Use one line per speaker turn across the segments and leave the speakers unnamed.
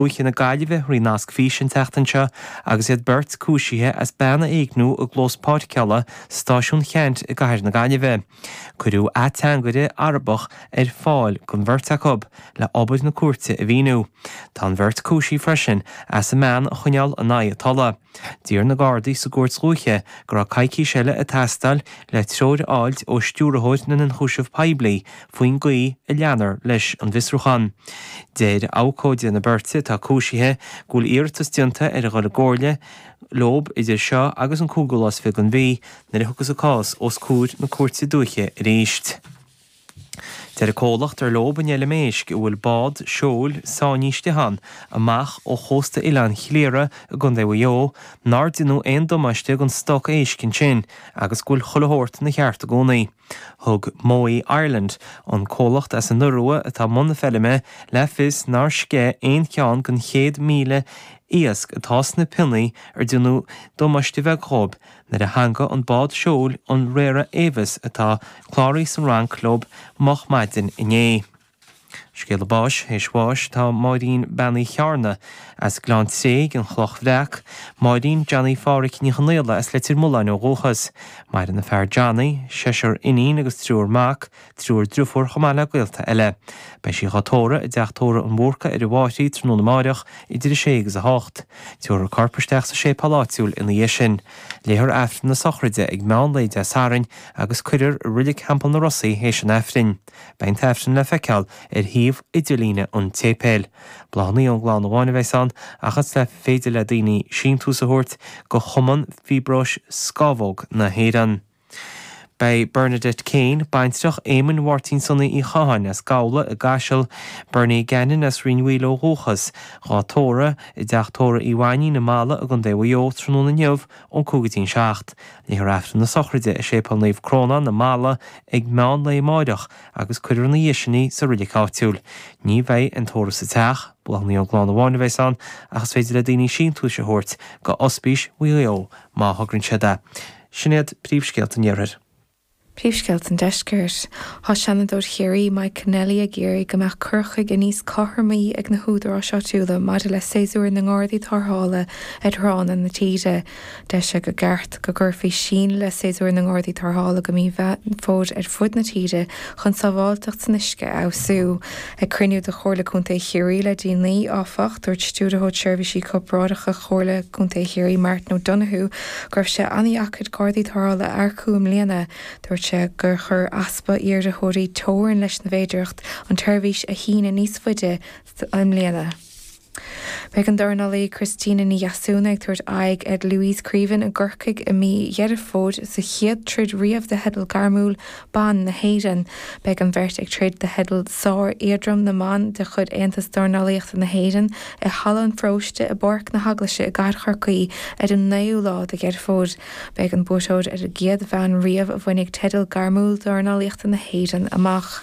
Dúiche na Gaillimhe thrí nasc físe an tseachtain seo agus iad beirt cúisithe as bean a éigniú i gclós páirceála Stáisiún Cheannt i gcathair na Gaillimhe. Cuireadh ateangaire Arabach ar fáil don bheirt acu le obair na cúirte a mhíniú. Tá an bheirt cúisithe freisin as an mbean a choinneáil in aghaidh a tola. D'iarr na Gardaí sa gcúirt dhúiche go raibh coicís eile ag teastáil le treoir a fháilt ó Stiúrthóir na nIonchúiseamh Poiblí faoin gcaoi a leanfar leis an bhfiosrúchán. Deir abhcóide na beirte atá cúisithe go bhfuil iarratas déanta ar a dhul i gcomhairle leob idir seo agus an cúigiú lá is 20 den mhí nuair a thiocfas an cás os comhair na Cúirte Dúiche arís. Deir comhlacht ar leob an fheilm éisc a bhfuil bád seoil sáinnithe istigh ann amach ó chósta Oileán Chliara i gContae Mhaigh Eo nár deineadh aon damáiste don stoc éisc ansin agus go bhfuil chuile shórt ina cheart i gcónaí. Thug Mowi Ireland, an comhlacht as an Iorua atá i mbun na feilme, le fios nár sceith aon cheann den 100,000 iasc atá sna pionnaí ar deineadh damáiste bheag dhóibh nuair a theangaigh an bád seoil an Rara Avis atá cláraithe san Fhrainc leob moch maidin inné. Scéala báis, Théis bháis tá Máirín Bean Uí Chearna as Gleann Tréig, An Chloch Bhreac, Máirín Johnny Phádhraic Ní Chonaola as Leitir Mealláin ó dhúchas. Maireann a fear Johnny, seisear iníon agus triúr mac, triúr driofúr chomh maith le gaolta eile. Beidh sí dhá tórramh i dteach tórraimh an Bhúrcaigh ar an bhFairche tráthnóna amáireach idir 6 agus 8. Tabharfar a corp isteach sa séipéal áitiúil ina dhiaidh sin. Léifear Aifreann na sochraide ag meán lae Dé Sathairn agus cuirfear i Reilig Theampall na Ros í théis an Aifrinn. Beidh an t-Aifreann le feiceáil ar shuíomh idirlíne an tséipéil. Bláthanna ón gclann amháin a bheas ann ach is féidir le daoine síntiús a thabhairt go Chumann Fiobróis Scamhóg na hÉireann. Beidh Bernadette Kane, baintreach Éamoinn Mháirtín Sonaí Uí Chatháin as Gabhla i gCaiseal, Bernie Gannon as Rinn Mhaoile ó dhúchas, dhá tórramh i dteach tórraimh Uí Mhainín i Mala i gContae Mhaigh Eo tráthnóna inniu ón 5 go dtí an 7. Léifear Aifreann na sochraide i Séipéal Naomh Crónán i Mala ag meán lae amáireach agus cuirfear ina dhiaidh sin í sa reilig áitiúil. Ní bheidh an tórramh sa teach, bláthanna ón gclann amháin a bheas ann ach is féidir le daoine síntiúis a thabhairt go Ospís Mhaigh Eo má thograíonn siad é. Sin iad príomhscéalta an Iarthair.
Príomhscéalta an Deiscirt. Tá Seanadóir Chiarraí, Mike Kennelly ag iarraidh go mbeadh cur chuige níos cothromaí ag na húdaráis áitiúla maidir le séasúr na nGardaí Tarrthála ar thránna na tíre. Deir sé gur ceart go gcuirfí síneadh le séasúr na nGardaí Tarrthála go mí Mheán Fómhair ar fud na tíre chun sábháilteacht san uisce a fheabhsú. Ag cruinniú de Chomhairle Contae Chiarraí le déanaí, áfach, dúirt Stiúrthóir Seirbhísí Corparáideacha Chomhairle Contae Chiarraí, Martin O'Donoghue, go raibh sé an-dheacair Gardaí Tarrthála a earcú i mbliana. Dúirt sé gur chuir easpa iarrthóirí teorainn leis na bhféidearthacht an tseirbhís a shíneadh níos faide i mbliana. Beidh an dornálaí Christina Ní Dheasúna ag tabhairt aghaidh ar Louise Creaven i gCorcaigh i mí Dheireadh Fómhair sa chéad troid riamh do theideal gairmiúil ban na hÉireann. Beidh an bheirt ag troid do theideal sár-éadrom na mban de chuid Aontas Dornálaíochta na hÉireann i Halla an Pharóiste i bPáirc na hEaglaise i gCathair Chorcaí ar an 9ú lá de Dheireadh Fómhair. Beidh an buaiteoir ar an gcéad bhean riamh a bhainfidh teideal gairmiúil dornálaíochta na hÉireann amach.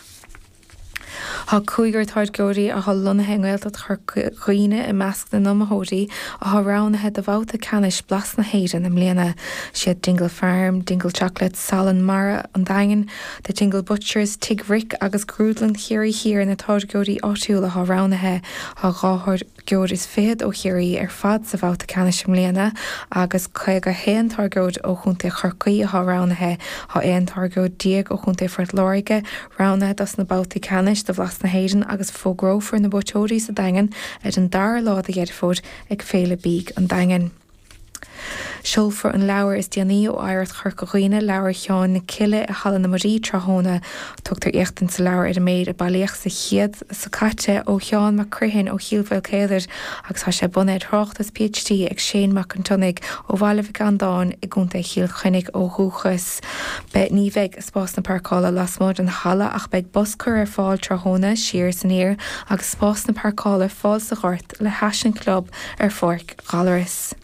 Tá cúigear táirgeoirí atá lonnaithe i nGaeltacht Chorca Dhuibhne i measc na n-iomaitheoirí atá roghnaithe do bhabhta ceannais Blas na hÉireann i mbliana. Siad Dingle Farm, Dingle Chocolates, Salann Mara an Daingin, The Dingle Butchers, Tigh Rick agus Grúdlann Chiarraí Thiar na táirgeoirí áitiúla atá roghnaithe. Tá 2 tháirgeoir is fichead ó Chiarraí ar fad sa bhabhta ceannais i mbliana agus 51 táirgeoir ó Chontae Chorcaí atá roghnaithe. Tá 11 táirgeoir ó Chontae Phort Láirge roghnaithe dos na babhtaí ceannais do Bhlas na hÉireann agus fógrófar na buaiteoirí sa Daingean ar an dara lá de Dheireadh Fómhair ag Féile Bídh an Daingin. Seolfar an leabhar is déanaí ó Oidhreacht Chorca Dhuibhne, Leabhar Sheáin na Cille i Halla na Muirí tráthnóna. Tugtar éachtaint sa leabhar ar an méid a bailíodh sa chéad seo caite ó Sheán Mac Criomhthain ó Chill Mhaolcéadair agus tá sé bunaithe ar thráchtas PhD ag Shane Mac an tSionnaigh ó Bhaile Mhic Andáin i gContae Chill Chainnigh ó dhúchas. Beidh Ní bheidh spásanna páirceála lasmuigh den halla ach beidh bus curtha ar fáil tráthnóna siar is aniar agus spásanna páirceála ar fáil sa ghort le hais an chlub ar Pháirc Ghallarais.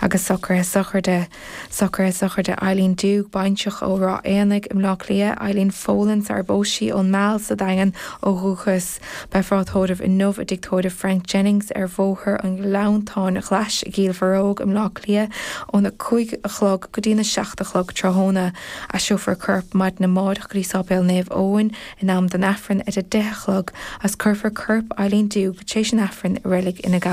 Agus socruithe sochraide. Socruithe sochraide Eileen Doogue, baintreach ó Ráth Éanaigh i mBleá Cliath, Eileen Folan sar ar phós sí ón Meal sa Daingean ó dhúchas. Beifear á tórramh inniu i dtigh tórraimh Frank Jennings ar Bhóthar an Ghleanntáin Ghlais i gCill Bharróg i mBleá Cliath óna 5 a chlog go dtína 7 a chlog tráthnóna. Aistreofar a corp maidin amárach go dtí Sáipéal Naomh Eoin in am don Aifreann ar a 10 a chlog agus cuirfear corp Eileen Doogue tar éis an Aifrinn i Reilig Fhine Gall.